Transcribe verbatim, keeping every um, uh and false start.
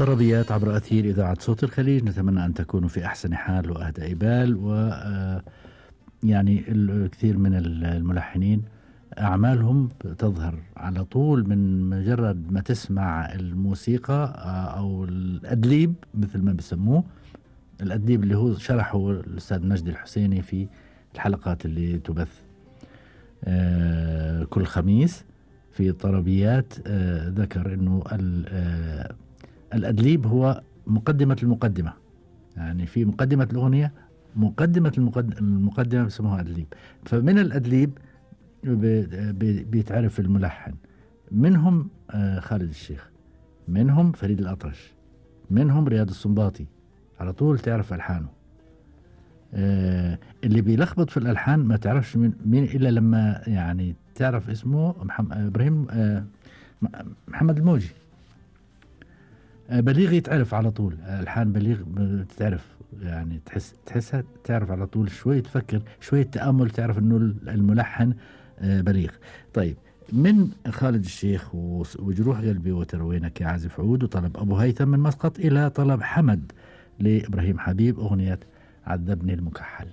طربيات عبر أثير إذاعة صوت الخليج، نتمنى أن تكونوا في أحسن حال وأهدى بال. و يعني الكثير من الملحنين أعمالهم تظهر على طول من مجرد ما تسمع الموسيقى أو الأدليب مثل ما بسموه، الأدليب اللي هو شرحه الأستاذ مجدي الحسيني في الحلقات اللي تبث كل خميس في طربيات. ذكر أنه الأدليب هو مقدمة المقدمة، يعني في مقدمة الأغنية مقدمة المقدمة بسموها أدليب. فمن الأدليب بيتعرف الملحن، منهم خالد الشيخ، منهم فريد الأطرش، منهم رياض السنباطي، على طول تعرف ألحانه. اللي بيلخبط في الألحان ما تعرفش مين إلا لما يعني تعرف اسمه محمد إبراهيم محمد الموجي. بليغ يتعرف على طول، ألحان بليغ بتعرف، يعني تحس تحسها تعرف على طول، شوية تفكر شوية تأمل تعرف إنه الملحن بليغ. طيب، من خالد الشيخ وجروح قلبي وتروينك يا عازف عود، وطلب أبو هيثم من مسقط، إلى طلب حمد لإبراهيم حبيب أغنية عذبني المكحل.